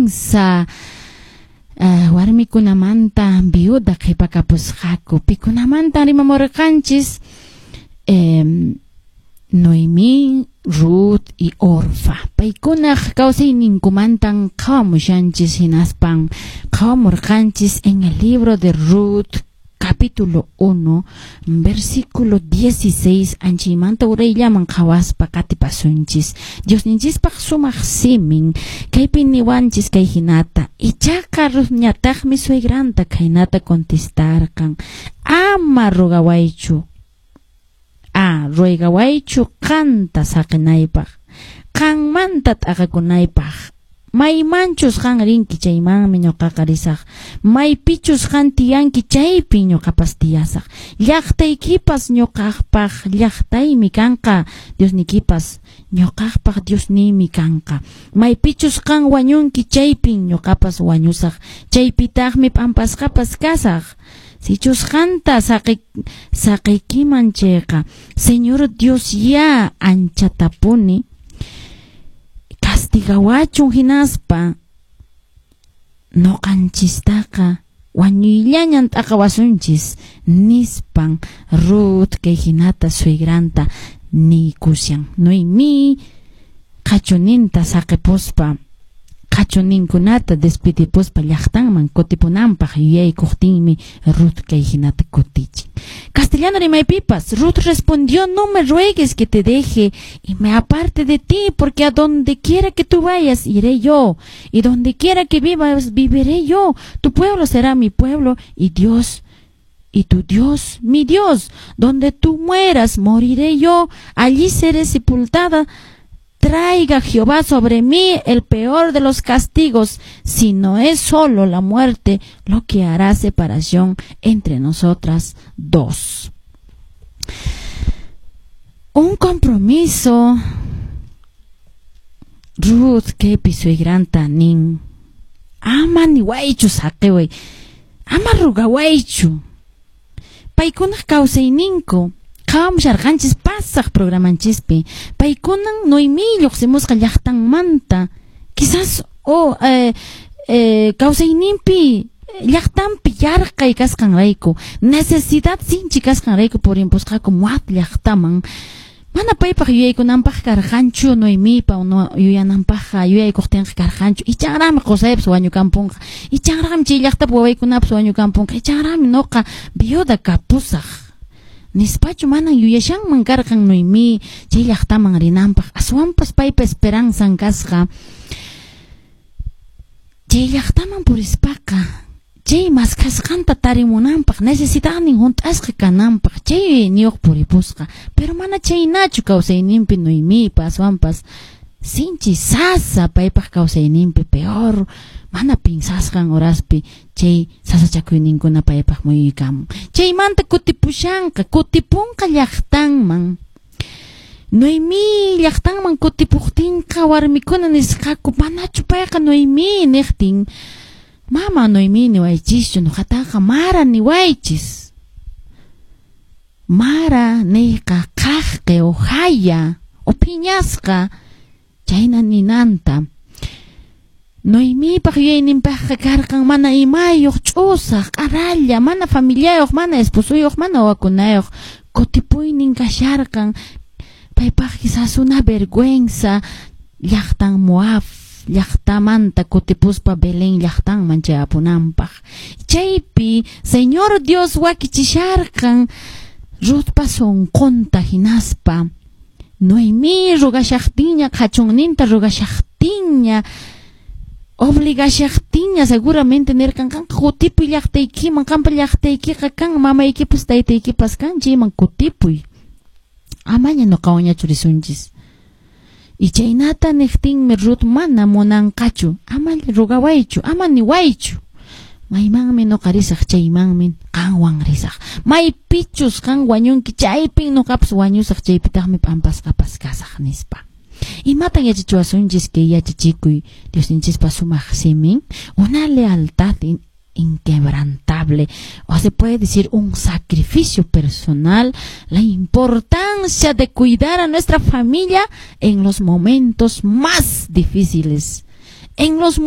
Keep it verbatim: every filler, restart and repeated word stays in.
Kinsa uh, warmikunamanta viuda qhipakapusqaku. Pikunamantan rimamurqanchis? Eh, Noemí, Ruth y Orfa. Paykunaq kawsayninkumantan qhawamushanchis, hinaspan qhawamurqanchis en el libro de Ruth, capítulo uno, versículo dieciséis, anchaymanta urayllaman qhawaspa qatipasunchis. Diosninchispaq sumaq simin, kaypi niwanchis kay hinata: "Ichaqa Ruthñataqmi suegranta khaynata contestarqan: 'Ama rogawaychu, a ruegawaychu qanta saqinaypaq, qanmanta t'aqakunaypaq. Maymanchus qan rinki chaymanmi ñuqaqa risaq, maypichus qan tiyanki chaypin ñuqapas tiyasaq. Llaqtaykipas ñuqaqpaq llaqtaymi kanqa, Diosnikipas ñuqaqpaq Diosniymi kanqa. Maypichus qan wañunki chaypin ñuqapas wañusaq, chaypitaqmi p'ampasqapas kasaq. Sichus qanta saqi saqiykiman chayqa, Señor Dios ya anchatapuni castigawachun, hinaspa ñuqanchistaqa wañuyllañan t'aqawasunchis", nispan Ruth kay hinata suegranta niykushan. Noemí qhachuninta saqipuspa, qhachuninkunata despidipuspa llaqtanman kutipunanpaq yuyaykuqtinmi Ruth kay hinata kutichin. Castellano rimaypipas: "Ruth respondió: 'No me ruegues que te deje y me aparte de ti, porque a donde quiera que tú vayas, iré yo, y donde quiera que vivas, viviré yo. Tu pueblo será mi pueblo y Dios y tu Dios, mi Dios. Donde tú mueras, moriré yo, allí seré sepultada. Traiga Jehová sobre mí el peor de los castigos, si no es solo la muerte lo que hará separación entre nosotras dos'". Un compromiso. Ruth kaypi suegranta nin: "Ama niwaychu saqiway, ama rugawaychu". Paykunaq kawsayninku qhawamusharqanchis pasaq programanchispi. Paykunan Noemí lluqsimusqa llaqtanmanta, quizás o eh, eh, kawsayninpi llaqtanpi yarqay kasqanrayku, necesidad sinchi kasqanrayku purimpusqaku Moab llaqtaman. Mana paypaq yuyaykunanpaq karqanchu, Noemipa no, yuyananpaqqa yuyaykuqtinqa karqanchu: "Ichanraqmi qusaypas wañukampunqa, ichanraqmi chay llaqtapi wawaykunapas wañukampunqa, ichanraqmi noqa viuda kapusaq", nispachu manan yuyashanman karqan Noemí chay llaqtaman rinanpaq. Aswanpas paypa esperanzan kasqa chay llaqtaman purispaqa chay maskhasqanta tarimunanpaq, necesidadnin hunt'asqa kananpaq, chay yuyayniyuq puripusqa. Pero mana chaynachu kawsayninpi Noemipa, aswanpas sinchi sasa paypaq kawsayninpi, peor mana pinsasqan horaspi chay sasachakuyninkuna paypaq muyuykamun. Chaymanta kutipushanqa, kutipunqa llaqtanman. Noemí llaqtanman kutipuqtinqa warmikuna nisqaku: "Manachu payqa Noemí?" niqtin: "Mama Noemí niwaychischu, nuqataqa Mara niwaychis. Mara niyqa qhaqqi o haya o phiñasqa, chayna ninanta". Noemipaq yuyayninpaqqa karqan mana imayuq, ch'usaq, q'aralla, mana familiayuq, mana esposuyuq, mana wawakunayuq kutipuynin kasharqan. Paypaq quizás una vergüenza llaqtan Moab llaqtamanta kutipuspa Belén llaqtanman chayapunanpaq. Chaypi Señor Dios wakichisharqan Ruthpa sunqunta, hinaspa Noemí rugashaqtinña, qhachunninta rugashaqtinña, obligashaqtinña, seguramente nirqan: "Qanqa kutipuy llaqtaykiman, qampa llaqtaykiqa kan, mamaykipas taytaykipas kan, chayman kutipuy. Amaña nuqawanñachu risunchis". Y chaynata niqtinmi Ruth mana munanqachu: "Ama rugawaychu, ama niwaychu. Maymanmi nuqa risaq chaymanmi qanwan risaq. Maypichus qan wañunki chaypin nuqapas wañusaq, chaypitaqmi p'ampasqapas kasaq", nispa. Imatan yachachiwasunchis kay yachachikuy, Diosninchispa sumaq simin? Una lealtad inquebrantable, o se puede decir un sacrificio personal, la importancia de cuidar a nuestra familia en los momentos más difíciles, en los momentos